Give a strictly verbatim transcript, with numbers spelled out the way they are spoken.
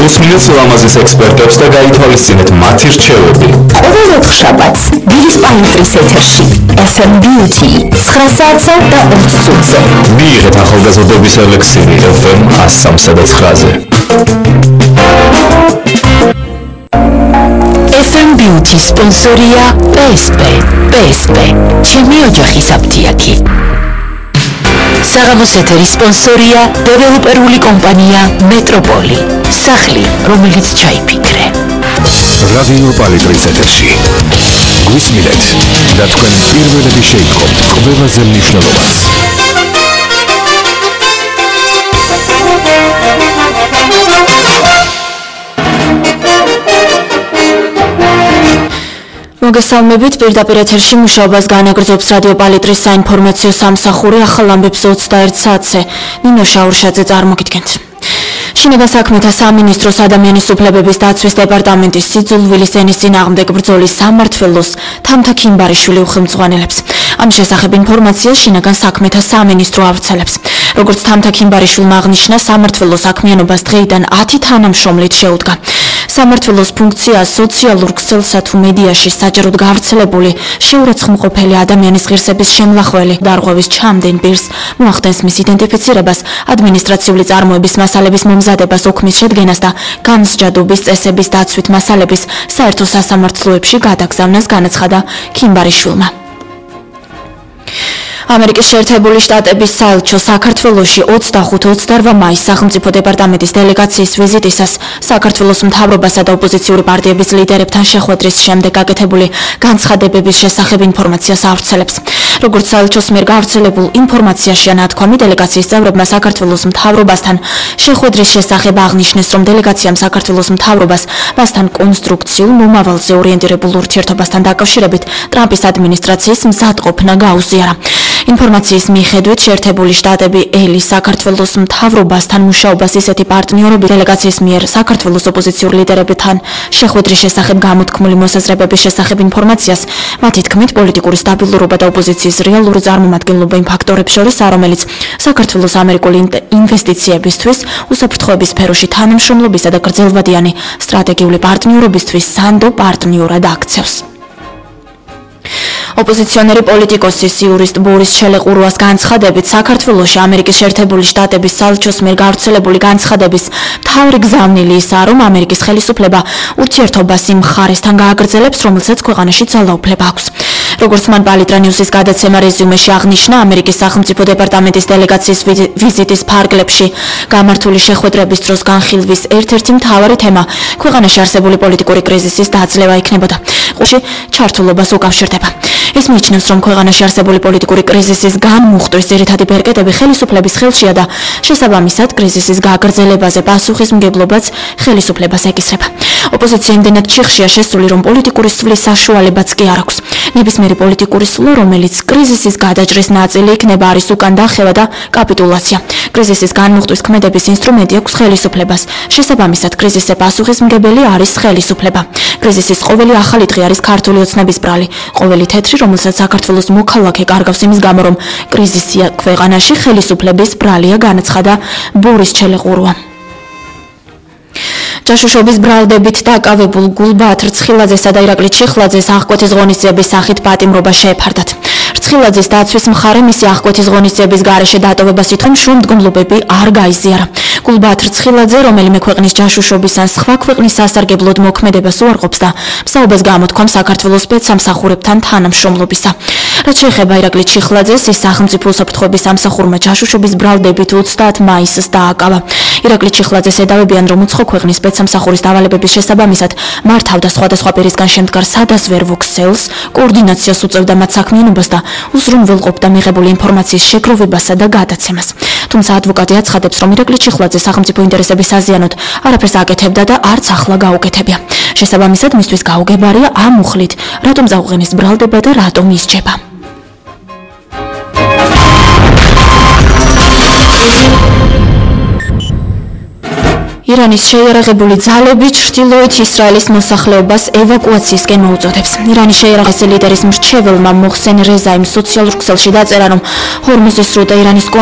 მოусმინეთ ლამაზის ექსპერტებს და გაითვალისწინეთ მათი რჩევები. ყოველ ოთხშაბათს დილის პალიტრის ეთერში ეფ ემ Beauty ცხრა საათზე და ოც წუთზე. მიიღეთ ახალგაზრდობის ელექსირი ეფ ემ one oh three და nine-ზე. ეფ ემ Beauty სპონსორია პი ეს პი. პი ეს პი ჩემი ოჯახის აფთიაქი. საღამოს ეთერის სპონსორია დეველოპერული კომპანია მეტროპოლი. სახლი, რომელიც ჩაიფიქრე. რადიო პალიტრის ეთერში გვისმინეთ და თქვენ პირველები შეიტყობთ ყველაზე მნიშვნელოვანს. მოგესალმებით, პირდაპირ ეთერში მუშაობას განაგრძობს რადიო პალიტრის საინფორმაციო სამსახური ახალ ამბებს ოცდაერთ საათზე. ნინო შაურშაძე წარმოგიდგენთ. შინაგან საქმეთა სამინისტროს ადამიანის უფლებების დაცვის დეპარტამენტის სიძულვილის ენის წინააღმდეგ ბრძოლის სამმართველოს თამთა ქიმბარიშვილი უხელმძღვანელებს. ამის შესახებ ინფორმაციას შინაგან საქმეთა სამინისტრო ავრცელებს. როგორც თამთა ქიმბარიშვილმა აღნიშნა, სამმართველოს საქმიანობას დღეიდან ათი თანამშრომლით შეუდგა. სამმართველოს ფუნქცია სოციალურ ქსელსა თუ მედიაში საჯაროდ გავრცელებული შეურაცხმყოფელი ადამიანის ღირსების შემლახველი დარღვევის ჩამდენ პირს მოახდენს მის იდენტიფიცირებას, ადმინისტრაციული წარმოების მასალების მომზადებას, ოქმის შედგენას და განსჯადობის წესების დაცვით მასალების საერთო სასამართლოებში გადაგზავნას განაცხადა ქიმბარიშვილმა. ამერიკის შეერთებული შტატების საელჩო საქართველოში ოცდახუთ ოცდაორ მაისს სახელმწიფო დეპარტამენტის დელეგაციის ვიზიტისას საქართველოს მთავრობასა და ოპოზიციური პარტიების ლიდერებთან შეხვედრის შემდეგ გაკეთებული განცხადებების შესახებ ინფორმაციას ავრცელებს. როგორც საელჩოს მიერ გავრცელებულ ინფორმაციაშია ნათქვამი, დელეგაციის წევრებმა საქართველოს მთავრობასთან შეხვედრის შესახებ აღნიშნეს, რომ დელეგაციამ საქართველოს მთავრობას მასთან კონსტრუქციულ მომავალზე ორიენტირებულ ურთიერთობასთან დაკავშირებით ტრამპის ადმინისტრაციის მზადყოფნა გაუზიარა. ინფორმაციის მიხედვით შეერთებული შტატები ელი საქართველოს მთავრობასთან მუშაობას ისეთი პარტნიორობით დელეგაციის მიერ საქართველოს ოპოზიციური ლიდერებთან შეხვედრის შესახებ გამოთქმული მოსაზრებების შესახებ ინფორმაციას მათი თქმით პოლიტიკური სტაბილურობა და ოპოზიციის რეალური წარმომადგენლობა იმ ფაქტორებს შორისაა, რომელიც საქართველოს ამერიკული ინვესტიციებისთვის უსაფრთხოების სფეროში თანამშრომლობისა და გრძელვადიანი სტრატეგიული პარტნიორობისთვის სანდო პარტნიორად აქცევს. ოპოზიციონერი პოლიტიკოსის იურისტ ბორის ჩელეყურუას განცხადებით, საქართველოში ამერიკის შეერთებული შტატების საელჩოს მიერ გავრცელებული განცხადების მთავარი გზავნილი ისაა, რომ ამერიკის ხელისუფლება ურთიერთობას იმ მხარესთან გააგრძელებს, რომელსაც ქვეყანაში ძალაუფლება აქვს. როგორც მან პალიტრა ნიუსის გადაცემა რეზიუმეში აღნიშნა, ამერიკის სახელმწიფო დეპარტამენტის დელეგაციის ვიზიტის ფარგლებში გამართული შეხვედრების დროს განხილვის ერთ-ერთი მთავარი თემა ქვეყანაში არსებული პოლიტიკური კრიზისის დაძლევა იქნებოდა. ყურში ჩართულობას უკავშირდება. ეს მიიჩნევს, რომ ქვეყანაში არსებული პოლიტიკური კრიზისის განმუხტვის ძირითადი ბერკეტები ხელისუფლების ხელშია და შესაბამისად კრიზისის გაგრძელებაზე პასუხისმგებლობაც ხელისუფლებას ეკისრება. ოპოზიცია იმდენად ჩიხშია შესული, რომ პოლიტიკური სვლის საშუალებაც კი არ აქვს. ნებისმიერი პოლიტიკური სვლა, რომელიც კრიზისის გადაჭრის ნაწილი იქნება, არის უკან დახევა და კაპიტულაცია. კრიზისის განმუხტვის ქმედების ინსტრუმენტი აქვს ხელისუფლებას. შესაბამისად, კრიზისზე პასუხისმგებელი არის ხელისუფლება. კრიზისის ყოველი ახალი დღე არის ქართული ოცნების ბრალი, ყოველი თეთრი, რომელსაც საქართველოს მოქალაქე კარგავს იმის გამო, რომ კრიზისია ქვეყანაში, ხელისუფლების ბრალია, განაცხადა ბორის ჩელეყურუა. ჯაშუშობის ბრალდებით დაკავებულ გულბაათ რცხილაძესა და ირაკლი ჩიხლაძეს აღკვეთის ღონისძიების სახით პატიმრობა შეეფარდათ. რცხილაძის დაცვის მხარე მისი აღკვეთის ღონისძიების გარეშე დატოვებას ითხოვს, შუამდგომლობები არ გაიზიარა. გულბაათ რცხილაძე, რომელიმე ქვეყნის ჯაშუშობის ან სხვა ქვეყნის სასარგებლოდ მოქმედებას უარყოფს და მსაუბას გამოთქვამს საქართველოს სპეცსამსახურებთან თანამშრომლობისა. რაც შეეხება ირაკლი ჩიხლაძეს, ის სახელმწიფო უსაფრთხოების სამსახურმა ჯაშუშობის ბრალდებით ოცდაათ მაისს დააკავა. ირაკლი ჩიხლაძეს ედავებიან, რომ უცხო ქვეყნის სპეცსამსახურის დავალებების შესაბამისად მართავდა სხვადასხვა პირისგან შემდგარ სადაზვერვო ქსელს, კოორდინაციას უწევდა მათ საქმიანობას და უზრუნველყოფდა მიღებული ინფორმაციის შეგროვებასა და გადაცემას. თუმცა ადვოკატი აცხადებს, რომ ირაკლი ჩიხლაძე სახელმწიფო ინტერესების საზიანოდ არაფერს აკეთებდა და არც ახლა გაუკეთებია. შესაბამისად, მისთვის გაუგებარია ამ მუხლით, რატომ წაუყენეს ბრალდება და რატომ ისჯება. ირანის შეიარაღებული ძალები ჩრდილოეთ ისრაელის მოსახლეობას ევაკუაციისკენ მოუწოდებს. ირანის შეიარაღების ლიდერის მრჩეველმა მოხსენ რეზაიმ სოციალურ ქსელში დაწერა, რომ ჰორმუზის სრუტე ირანის